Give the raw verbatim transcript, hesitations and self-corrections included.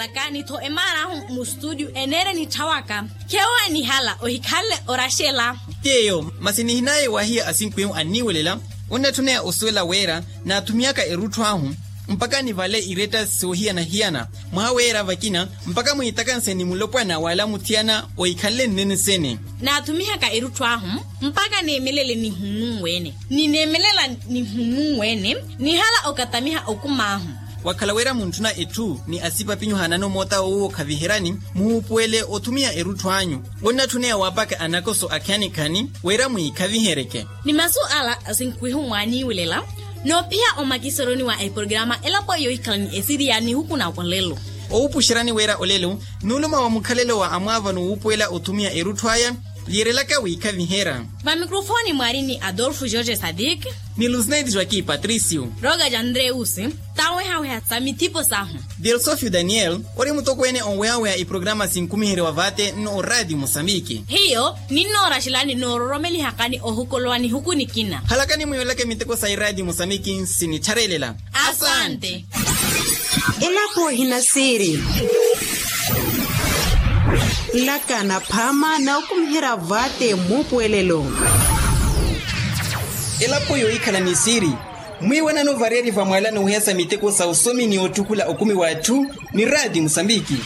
Kaani-tho emaar'ahu mustudio eneere nitthawaka. Kheewo anihala ohikhanle oraxela. T'eyo masi nihinaaye waahiya asinkwihu anniiwelela. Onnatthuneya osuwela wira naathumihaka erutthu ahu mpakha nivale iretta soohiyana-hiyana mwaha wira vakina mpakha mwiitakanseni mulopwana wala muthiyana ohikhanle nnene sene. Naathumihaka erutthu ahu mpakha neemelele nihunnu wene. Nineemelela nihunnu wene nihala okatamiha okum'ahu. Wakhala wira muntthuna etthu ni asipapinyu haanano moota woowo khaviheryani muhuupuwele othumiha erutthu anyu. Onnatthuneya waapaka anakoso akhani-khani wira mwiikhaviheryeke. Ni masu ala asinkwihu mwaaniiwelela noophiya omakiseroni wa eprograma elapo yoohikhala ni esiriya nihuku na olelo. Owupuxeryani wira olelo n'uluma wa mukhalelo wa amwaavano wuupuwela othumiha erutthu aya. Liirelaka wiikhaviherya. Vamikrofooni mwaari ni adolfo george sadik, ni lusneti joaki patricio, roga ja andreusi, tawehaweha sa mithipo sahu. Delsofio daniel ori mutokweene onwehaweha iprograma sinkumiherye wa vaate nno oraati musambiki. Hiyo ninnooraxelani noororomelihakani ohukolowa nihuku nikina. Halakani mwiiwelaka miteko sa iraati musambiki nsinittharalela. Asante. Elapo ehina siiri. Nlaka naphaama nookumiherya vaate muupuwelelo. Elapo yoohikhala ni siiri. Mwiiwanano variyari vamwaalano ohiyasa miteko sa osomi ni oottukula okumi w'atthu. Ni raati musambiki.